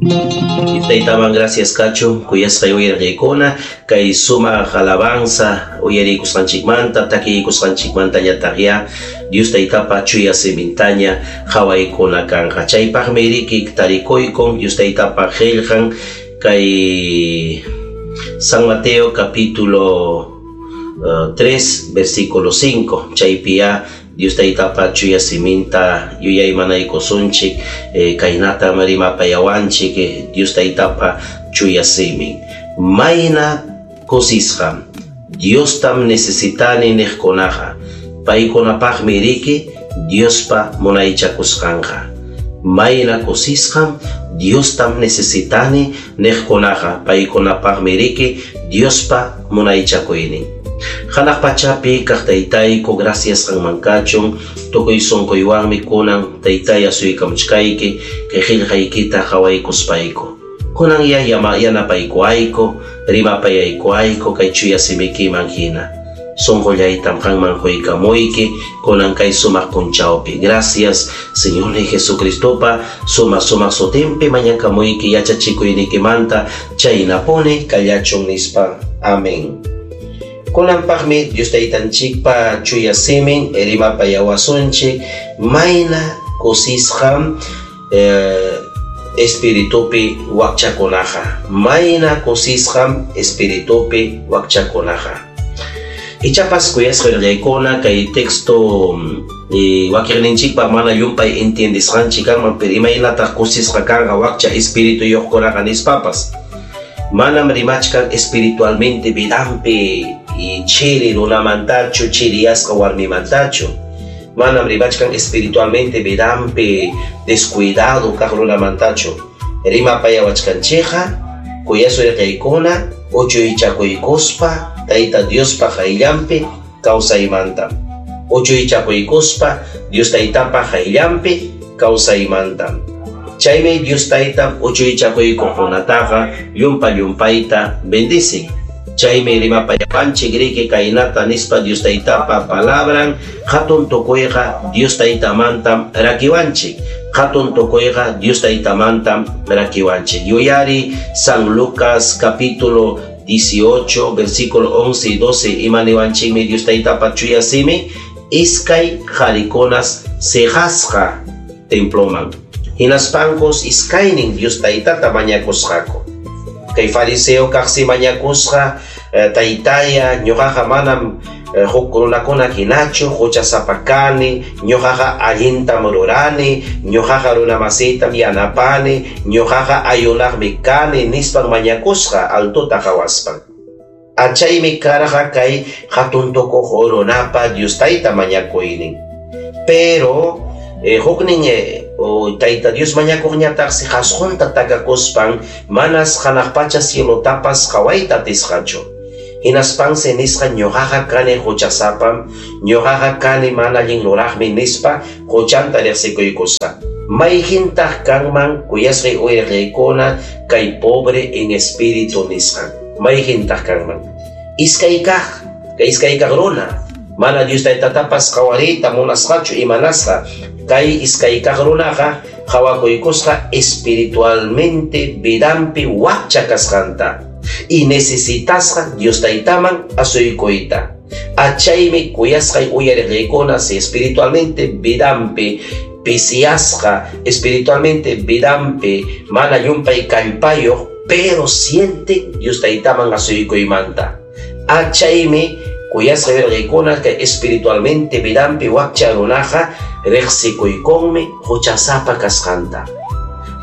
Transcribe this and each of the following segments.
Taytaman gracias kachun, kuyasqay uyariqkuna, kay sumaq alabanza uyarikusqanchikmanta, takiykusqanchikmantañataq ya Dios Taytapa chuya simintaña qawaykuna kanqa. Chaypaqmi riki tarikuykun Dios Taytapa qillqan kay San Mateo capítulo 3 versículo 5. Chaypi ya Dios Taytapa chuya siminta yuyaymanaykusunchik, kaynatam rimapayawanchik Dios Taytapa chuya simin. Mayna kusisqam Diostam necesitani niqkunaqa, paykunapaqmi riki Diospa munaychakusqanqa. Mayna kusisqam Diostam necesitani niqkunaqa, paykunapaqmi riki Diospa munaychakuynin. Hanaq pachapi kaq Taytayku, gracias qanman kachun, tukuy sunquywanmi kunan Taytay asuykamuchkayki, kay qillqaykita qawaykuspayku. Kunan ya yanapaykuayku, rimapayaykuayku kay chuya simikiman hina. Sunqullaytam qanman quykamuyki, kunan kay sumaq punchawpi. Gracias, Señor Jesucristopa sumaq sumaq sutinpi mañakamuyki yachachikuynikimanta chaynapuni kallachun nispa. Amén. Kunanpaqmi Dios Taytanchikpa chuya simin rimapayawasunchik, mayna kusisqam espiritupi wakchakunaqa. Mayna kusisqam espiritupi wakchakunaqa. Ichapas kuyasqa rillaykuna kay texto wakiqninchikpa mana llumpay entiendisqanchik kanman, pero imaynataq kusisqa kanqa wakcha espirituyuqkunaqa nispapas. Manam rimachkan espiritualmente vidanpi chiri runamantachu, chiriyasqa warmimantachu. Manam rimachkan espiritualmente vidanpi descuidado kaq runamantachu. Rimapayawachkanchikqa kuyasuyqaykuna uchuychakuykuspa Tayta Diospa qayllanpi kawsaymanta. Uchuychakuykuspa Dios Taytapa qayllanpi kawsaymanta. Chaymi Dios Tayta uchuychakuykuqkunataqa llumpa llumpayta bendicen. Chaymi rimapayawanchik riki kaynata nispa Dios Taytapa palabran, hatun tukuyqa Dios Taytamantam rakiwanchik. Hatun tukuyqa Dios Taytamantam rakiwanchik. Yuyari San Lucas capítulo 18, versículo 11 y 12, imaniwanchikmi Dios Taytapa chuya simi, iskay qarikunas siqasqa temploman. Hinaspankos iskaynin Dios Taytata mañakusqaku. Kay fariseo kaqsi mañakusqa, Taytaya, ñuqaqa manam huk runakuna hinachu, huchasapa kani, ñuqaqa allintam rurani, ñuqaqa runamasitam yanapani, ñuqaqa ayunaqmi kani, nispan mañakusqa altota qawaspan. Achaymi karqa kay hatun tukuq runapa Dios Tayta mañakuynin. Pero huknin Tayta Dios mañakuqñataqsi qasqunta takakuspan manas hanaq pacha cielotapas qawayta atisqachu. Hinaspansi nisqa ñuqaqa kani huchasapam, ñuqaqa kani mana allin ruraqmi nispa huchanta riqsikuykusqa. Mayhintaq kanman kuyasqay uyariqkuna kay pobre en espíritu nisqan. Mayhintaq kanman. Iskay kaq, kay iskay kaq runa, mana Dios Taytatapas qawariyta munasqachu imanasqa. Kay iskay kaq runaqa qawakuykusqa espiritualmente vidanpi wakcha kasqanta y necesitasqa Dios Taytaman asuykuyta. Achaymi kuyasqay uyariqkuna si espiritualmente vidanpi pisiasqa, espiritualmente vidanpi mana llumpay kallpayuq, pero siente Dios Taytaman asuykuymanta. Achaymi kuyasqay uyariqkuna kay espiritualmente vidanpi wakcha runaqa riqsikuykunmi huchasapa kasqanta.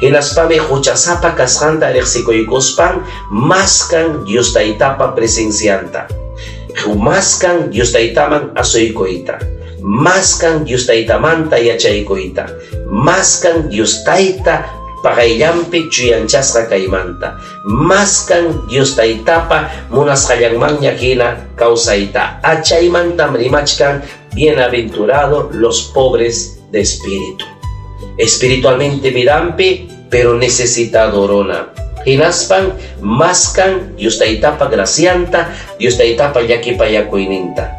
Hinaspami huchasapa kasqanta riqsikuykuspan maskan Dios Taytapa presencianta. Maskan Dios Taytaman asuykuyta. Maskan Dios Taytamanta yachaykuyta. Maskan Dios Tayta paqayllanpi chuyanchasqa kaymanta. Maskan Dios Taytapa munasqallanmanña hina kawsayta. Achaymantam rimachkan bienaventurado los pobres de espíritu. Espiritualmente vidanpi, pero necesitado runa. Hinaspan maskan Dios Taytapa gracianta, Dios Taytapa llakipayakuyninta.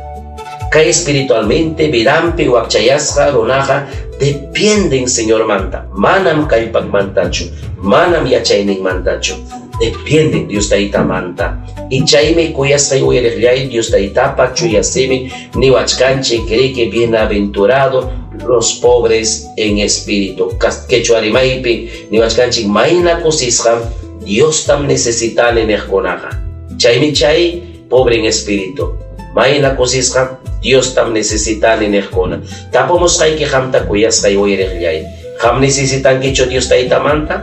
Kay espiritualmente vidanpi wakchayasqa runaqa dependen Señormanta, manam kallpanmantachu, manam yachayninmantachu, dependen Dios Taytamanta. Y chaymi kuyasqay uyariqllay Dios Taytapa chuya simin niwachkanchik riki bienaventurado los pobres en espíritu. Quechua rimaypi niwachkanchik mayna kusisqam Diostam necesitani niqkunaqa. Chaymi chay pobre en espíritu. Mayna kusisqam Diostam necesitani niqkuna. Tapumusqayki qamta kuyasqay uyariqllay. Qam necesitankichu Dios Taytamanta?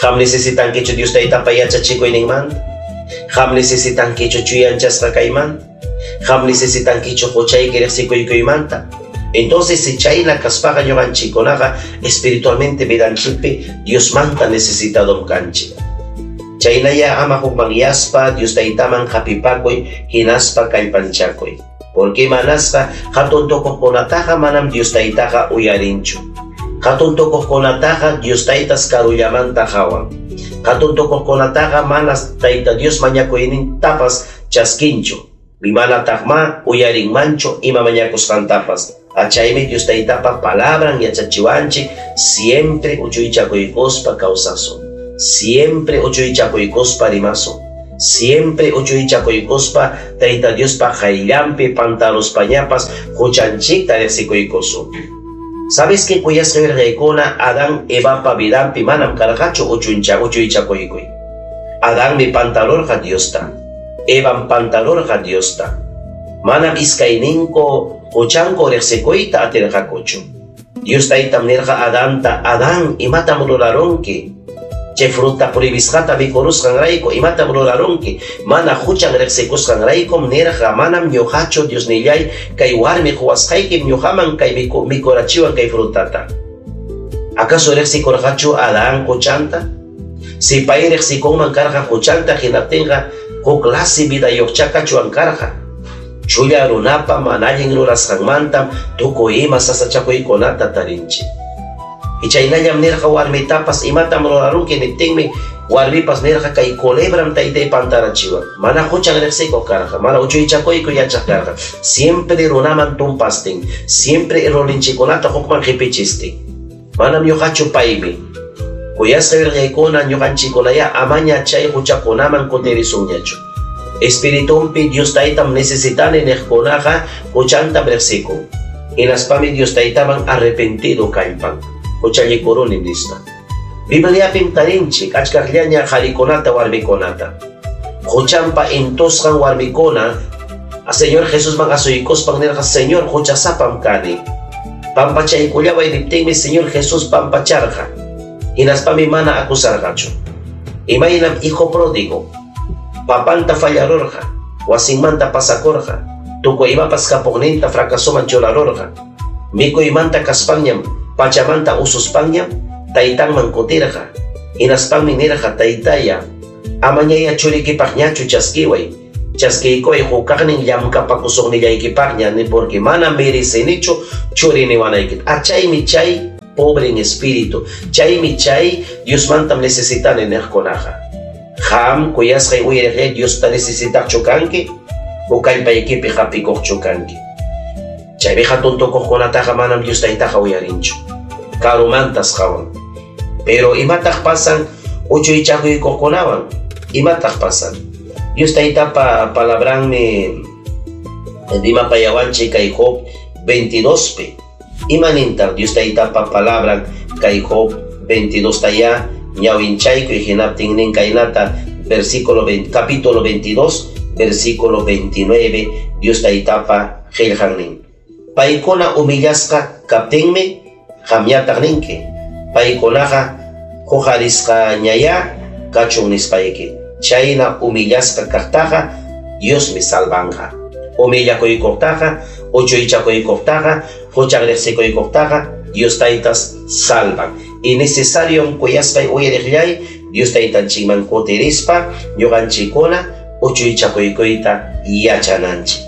Qam necesitankichu Dios Taytapa yachachikuyninmanta? Qam necesitankichu chuyanchasqa kaymanta? Qam necesitankichu huchayki riqsikuykuymanта? Entonces, si chayna kaspaqa ñuqanchikkunaqa espiritualmente vidanchikpi Diosmanta necesitadom kanchik. Chaynaya ama hukmanyaspa Dios Taytaman hapipakuy hinaspa kallpanchakuy. Porque manasqa hatun tukuqkunataqa manam Dios Taytaqa uyarinchu. Hatun tukuqkunataqa Dios Taytas karullamanta hawan. Hatun tukuqkunataqa manas Tayta Dios mañakuynintapas chaskinchu. Manataqma uyarinmanchu ima mañakusqantapas. Achaymi Dios Taytapa palabran yachachiwanchik siempre uchuychakuykuspa kawsasun. Siempre uchuychakuykuspa rimasun. Siempre uchuychakuykuspa Tayta Diospa qayllanpi pantaruspañapas huchanchikta riqsikuykusun. ¿Sabes qué kuyasqa wirqaykuna Adán Evapa vidanpi manam karqachu uchuychakuykuy? Adánmi pantarurqa Diosta. Evan pantarurqa Diosta. Manam iskayninku huchanku riqsikuyta atirqakuchu. Dios Taytam nirqa Adanta, Adán, imatam rurarunki? Chay fruta prohibisqata mikurusqanrayku imatam rurarunki? Mana huchan riqsikusqanraykum nirqa, manam ñuqachu Diosnillay kay warmi quwasqaykim ñuqaman kay mikurachiwan kay frutata. ¿Acaso riqsikurqachu Adán huchanta? Si pay riqsikunman karqa huchanta hinaptinqa huk lasi vidayuqcha kachuwan karqa. Chulla runapa mana allin rurasqanmantam tukuy ima sasachakuykunata tarinchik. Y chaynallam nirqa warmitapas imatam rurarunki niptinmi warmipas nirqa kay culebram taytay pantarachiwan. Mana huchan riqsikuq karqa, mana uchuychakuyku yachaq karqa. Siempre runaman tumpastin, siempre errorninchikkunata hukman qipichistin. Manam ñuqachu paymi. Kuyasqa wirqaykuna ñuqanchikkunaya amaña chay huchakunaman kutirisunñachu. Espiritumpi Dios Taytam necesitani niqkunaqa huchantam riqsikun. Hinaspami Dios Taytaman arrepentido kallpan. Huchallikuruni nispa. Bibliapim tarinchik achkaqllaña qharikunata warmikunata. Huchanpa intusqan warmikuna a Señor Jesusman asuykuspan nirqa, Señor, huchasapam kani. Pampachaykullaway niptinmi Señor Jesús pampacharqa. Hinaspami mana acusarqachu. Imaynam hijo pródigo papanta fallarurqa, wasinmanta pasakurqa, tukuy imapas kapuqninta fracasoman churarurqa. Mikuymanta kaspanñam, pachamanta ususpanñam, taytanman kutirqa. Hinaspanmi nirqa, taytaya, amañaya churikipaqñachu chaskiway, chaskiykuway hukaqnin llamkapakusuqnillaykipaqña, ni porque mana merecenichu churi niwanaykita. Achaymi chay pobre en espíritu, chaymi chay Diosmantam necesitani niqkunaqa. Qam kuyasqay uyariqllay Diosta necesitaqchu kanki, o kallpaykipi hapikuqchu kanki. Chaymi hatun tukuqkunataqa manam Dios Taytaqa uyarinchu. Karumantas qawan. Pero imataq pasan uchuychakuykuqkunawan? Imataq pasan? Dios Taytapa palabranmi rimapayawanchik kay Job 22pi. Imanintaq Dios Taytapa palabran kay Job 22 taya ñawinchaykuy hinaptin nin kaynata versículo 20, capítulo 22 versículo 29 Dios Taytapa qillqan. Paykuna humillasqa kaptinmi qamñataq ninki. Paykunaqa huqarisqañaya kachun nispayki. Chayna humillasqa kaqtaqa Diosmi salvanqa. Humillakuykuqtaqa, uchuychakuykuqtaqa, huchan riqsikuykuqtaqa Dios Taytas salvan. Y necesario kuyasqay uyariqllay Dios Taytanchikman kutirispa ñuqanchikkuna uchuychakuykuyta yachananchik.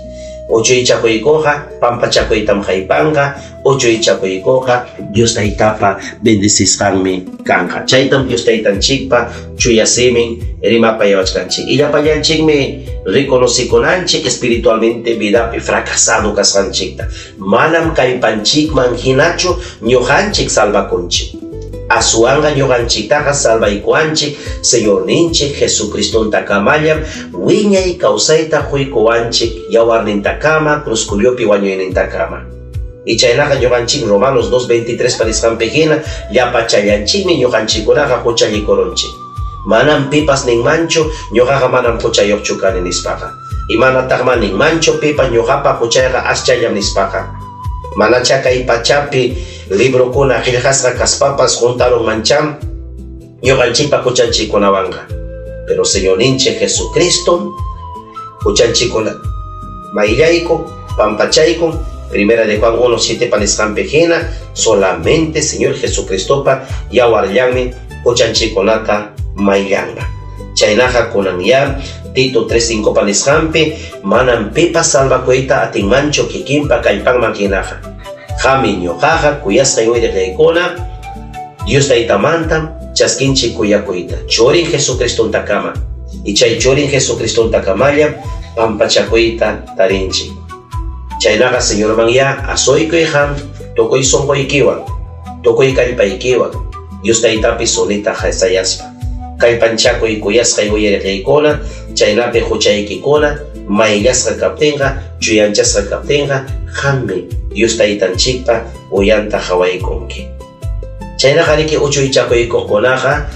Uchuychakuykuqa pampachakuytam haypanqa, uchuychakuykuqa Dios Taytapa bendecisqanmi kanqa. Chaytam Dios Taytanchikpa chuya simin rimapayawachkanchik. Y llapallanchikmi reconocikunanchik espiritualmente vidapi fracasado kasqanchikta. Manam kallpanchikman hinachu ñuqanchik salvakunchik. Aswanqa ñuqanchiktaqa salvaykuwanchik Señorninchik Jesucristontakamallam wiñay kawsayta quykuwanchik yawarnintakama cruzcullopi wañuynintakama. Y chaynaqa ñuqanchik Romanos 2:23 parisqanpi hina llapachallanchikmi ñuqanchikkunaqa huchallikurunchik. Manam pipas ninmanchu ñuqaqa manam huchayuqchu kani nispaqa. Y manataqma ninmanchu pipas ñuqapa huchayqa aschallam nispaqa. Manacha kay pachapi librokuna qillqasqa kaspapas juntarunmancham ñuqanchikpa huchanchikkunawanqa. Pero Señorninchik Jesucristo huchanchikkuna mayllayku, pampachayku. Primera de Juan 1:7 panisqanpi hina solamente Señor Jesucristopa yawarllanmi huchanchikkunata mayllanqa. Chaynaqa kunan ya Tito 3:5 panisqanpi manam pipas salvakuyta atinmanchu kikinpa kallpanman hinaqa. Qami ñuqaqa kuyasqay uyariqaykuna Dios Taytamantam chaskinchik kuyakuyta. Churin Jesucristontakama. Y chay churin Jesucristontakamalla pampachakuyta tarinchik. Chaynaqa Señorman ya asuykuy qam tukuy sunquykiwan, tukuy kallpaykiwan, Dios Taytapi sunita hasayaspa. Kallpanchakuy kuyasqay uyariqaykuna, chaynapi huchaykikuna mayllasqa kaptinqa, chuyanchasqa kaptinqa, qammi Dios Taytanchikpa uyanta qhawaykunki. Chaynaqa riki uchuychakuykuqkunaqa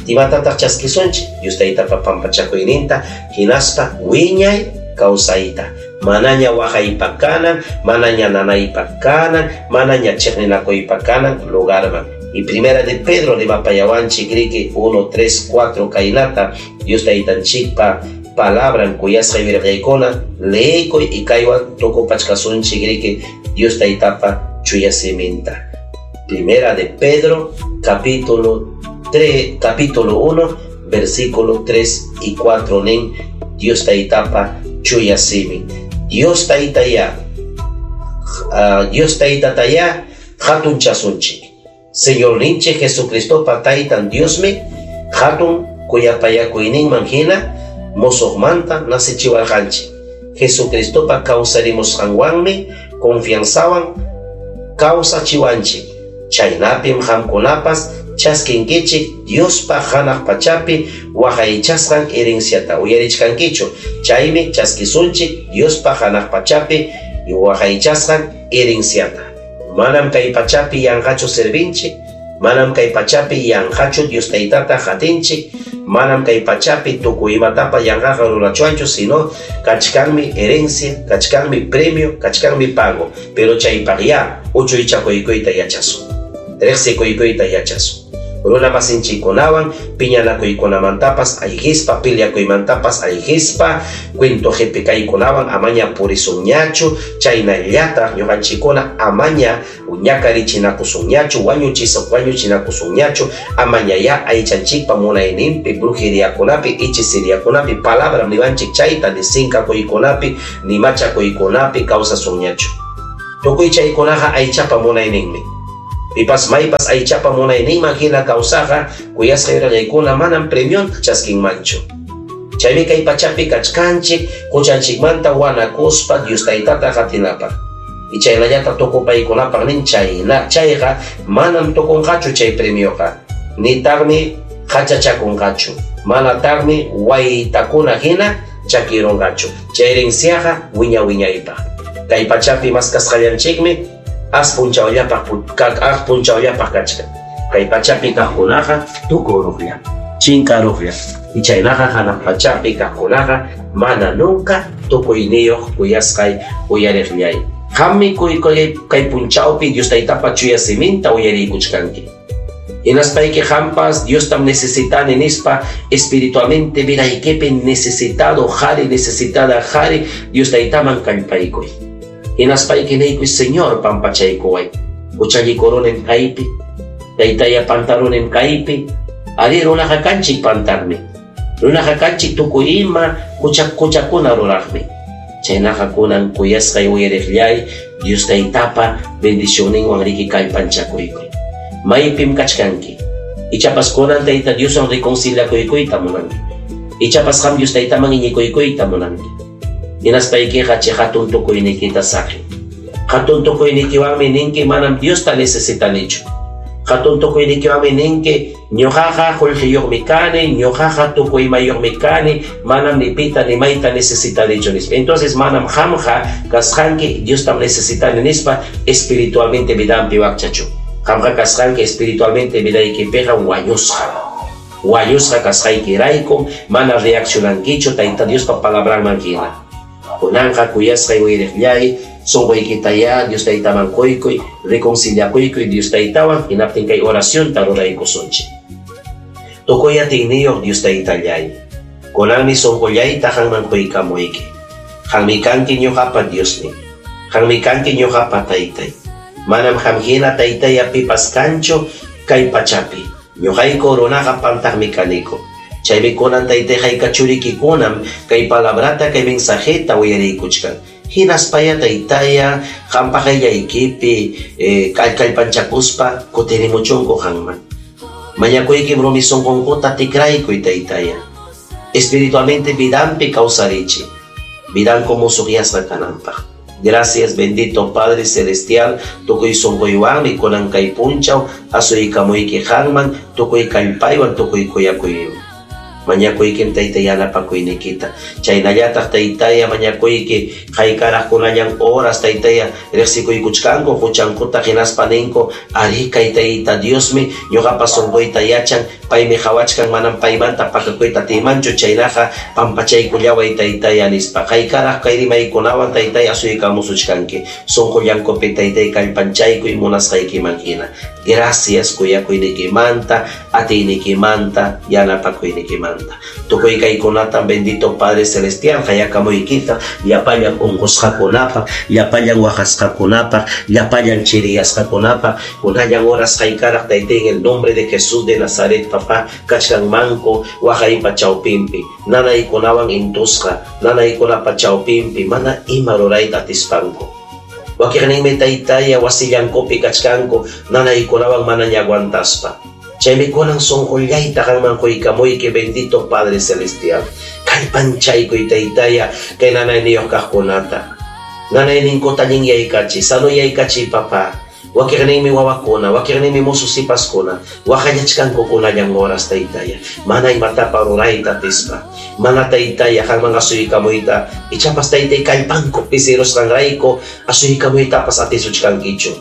imatataq chaskisunchik Dios Taytapa pampachakuyninta hinaspa wiñay kawsayta. Manaña waqaypa kanan, manaña nanaypa kanan, manaña chiqninakuypa kanan lugarman. Y primera de Pedro rimapayawanchik riki 1, 3, 4 kaynata Dios Taytanchikpa palabran kuyasqa yuyariqaykuna leekuy y kaywan tukupachkasunchik riki Dios Taytapa chuya siminta. Primera de Pedro capítulo 3, capítulo 1, versículo 3 y 4 nin Dios Taytapa chuya simin. Dios Taytaya, Dios Taytataya hatunchasunchik. Señorninchik Jesucristopa Taytan Diosmi hatun kuyapayakuyninman hina mosoqmanta nacichiwarqanchik. Jesucristopa kawsarimusqanwanmi confianzawan kawsachiwanchik. Chaynapim qamkunapas chaskinkichik Diospa hanaq pachapi waqaychasqan herenciata. Uyarichkankichu. Chaymi chaskisunchik Diospa hanaq pachapi waqaychasqan herenciata. Manam kay pachapi yanqachu servinchik, manam kay pachapi yanqachu Dios Taytata qatinchik, manam kay pachapi tukuy imatapa yanqaqa rurachuanchu, sino kachkanmi herencia, kachkanmi premio, kachkanmi pago. Pero chaypaq ya uchuychakuykuyta yachasun, riqsikuykuyta yachasun. Runa masinchikkunawan piñanakuykunamantapas ayqispa, piliakuymantapas ayqispa, cuento qhipikaykunawan amaña purisunñachu, chaynallataq ñuqanchikkuna amaña ñakarichinakusunñachu, wañuchinakusunñachu, amaña ya aychanchikpa munayninpi, brujeriakunapi, hechiceriakunapi, palabra niwanchik chayta ni sinkakuykunapi, ni machakuykunapi kawsasunñachu. Tukuy chaykunaqa aychapa munayninmi. Pipas maypas aychapa munayninman hina kawsaqa kuyasqa yurallaykuna manam premionta chaskinmanchu. Chaymi kay pachapi kachkanchik huchanchikmanta wanakuspa Dios Taytata qatinapaq. Y chaynallata tukupaykunapaq nin chayna chayqa manam tukunqachu chay premioqa. Nitaqmi hachachakunqachu. Manataqmi waytakuna hina chakirunqachu. Chay herenciaqa wiña wiñaypaq. Kay pachapi maskasqallanchikmi as punchawllapaq kachkan. Kay pachapi kaqkunaqa tukuruqlla, chinkaruqlla. Y chaynaqa hanaq pachapi kaqkunaqa mana nunca tukuyniyuq kuyasqay uyariqllay. Qammi kay punchawpi Dios Taytapa chuya siminta uyariykuchkanki. Hinaspayki qampas Diostam necesitani nispa espiritualmente vidaykipi necesitado qhari, necesitada qhari Dios Taytaman kallpaykuy. Hinaspayki niykuy Señor pampachaykuway. Huchallikurunim kaypi, taytaya pantarunim kaypi. Ari runaqa kanchik pantarmi. Runaqa kanchik tukuy ima huchakuna ruraqmi. Chaynaqa kunan kuyasqay uyariqllay, Dios Taytapa bendicionninwan riki kallpanchakuykuy. Maypim kachkanki? Ichapas kunan Tayta Dioswan reconciliakuykuyta munanki. Ichapas qam Dios Taytaman iñikuykuyta munanki. Hinaspaykiqa chay hatun tukuyniykita saqi. Hatun tukuynikiwanmi ninki manam Diosta necesitanichu. Hatun tukuynikiwanmi ninki ñuqaqa qullqiyuqmi kani, ñuqaqa tukuy imayuqmi kani, manam ni pita ni mayta necesitanichu nispa. Entonces manam qamqa kasqanki Diostam necesitani nispa espiritualmente vidanpi wakchachu. Qamqa kasqanki espiritualmente vidaykipiqa wañusqa. Wañusqa kasqaykiraykum mana reaccionankichu Tayta Diospa palabranman hina. Kunanqa kuyasqay uyariqllay, sunquykitayá Dios Taytaman quykuy, reconciliakuykuy Dios Taytawan, hinaptin kay oracionta ruraykusunchik. Tukuy atiyniyuq Dios Taytallay, kunanmi sunqullayta qanman quykamuyki. Qanmi kanki ñuqapa Diosnin, qanmi kanki ñuqapa Taytay. Manam qam hina Taytaya pipas kanchu kay pachapi. Ñuqayku runaqa pantaqmi kaniku. Chaymi kunan Taytay hayka churikikunam kay palabrata, kay mensajeta uyariykuchkan. Hinaspaya Taytaya qampa qayllaykipi kallpanchakuspa kutirimuchunku qanman. Mañakuykim rumi sunqunkuta tikraykuy Taytaya. Espiritualmente vidanpi kawsarichi. Vidanku musuqyasqa kananpaq. Gracias, bendito Padre Celestial, tukuy sunquywanmi kunan kay punchaw asuykamuyki qanman, tukuy kallpaywan, tukuy kuyakuywan. Mañakuykim Tayta yanapakuynikita. Chaynallataq Taytaya mañakuyki haykaraq kunallan horas Taytaya riqsikuykuchkanku huchankuta hinaspa ninku ari kay Tayta Diosmi ñuqapa sunquyta yachan, paymi qawachkan manam paymanta pakakuyta atiymanchu, chaynaqa pampachaykullaway Taytaya nispa. Haykaraq kay rimaykunawan Taytaya asuykamusuchkanki. Sunqullankupi Taytay kallpanchaykuy munasqaykiman hina. Gracias kuyakuynikimanta, atiynikimanta, yanapakuynikimanta. Tukuy kaykunatam bendito Padre Celestial qayakamuykita llapallan unqusqakunapaq, llapallan waqasqakunapaq, llapallan chiriyasqakunapaq, kunallan horas haykaraq Taytay en el nombre de Jesús de Nazaret, papá, kachkanmanku waqaypa chawpinpi, nanaykunawan intusqa, nanaykunapa chawpinpi, mana ima rurayta atispanku. Wakiqninmi Taytaya wasillankupi kachkanku nanaykunawan mana aguantaspa. Chaymi kunan sunqullayta qanman quykamuyki bendito Padre Celestial. Kallpanchaykuy Taytaya kay nanayniyuq kaqkunata. Nanayninkuta allinyaykachiy, sanoyaykachiy papá. Wakiqninmi wawakuna, wakiqninmi musu sipaskuna, waqallachkanku kunallan horas Taytaya. Mana imatapa rurayta atispa. Mana Taytaya qanman asuykamuyta, ichapas Taytay kallpanku pisirusqanrayku asuykamuytapas atisuchkankichu.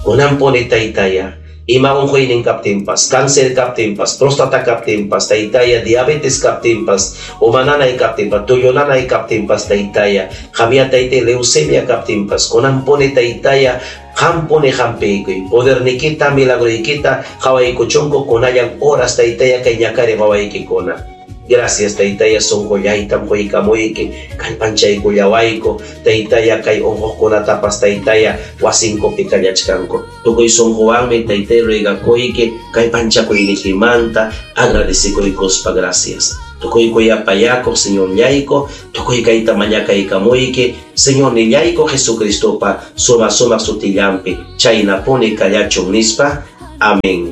Kunanpuni Taytaya, ima unquynin kaptinpas, cáncer kaptinpas, próstata kaptinpas, Taytaya, diabetes kaptinpas, uma nanay kaptinpas, tullu nanay kaptinpas, Taytaya, qamya Taytay leucemia kaptinpas, kunanpuni Taytaya, qampuni hampiykuy, podernikita, milagroykita, qawaykuchunku kunallan horas Taytaya kay ñakari wawaykikuna. Gracias Taytaya sunqullaytam quykamuyki, kallpanchaykullawayku, Taytaya kay unquqkunatapas Taytaya wasinkupi kallachkanku. Tukuy sunquwanmi Taytay ruegakuyki, kallpanchakuynikimanta agradecekuykuspa gracias. Tukuy kuyapayakuq Señorllayku, tukuy kayta mañakaykamuyki, Señornillayku Jesucristopa suma sumaq sutillanpi, chaynapuni kallachun nispa. Amén.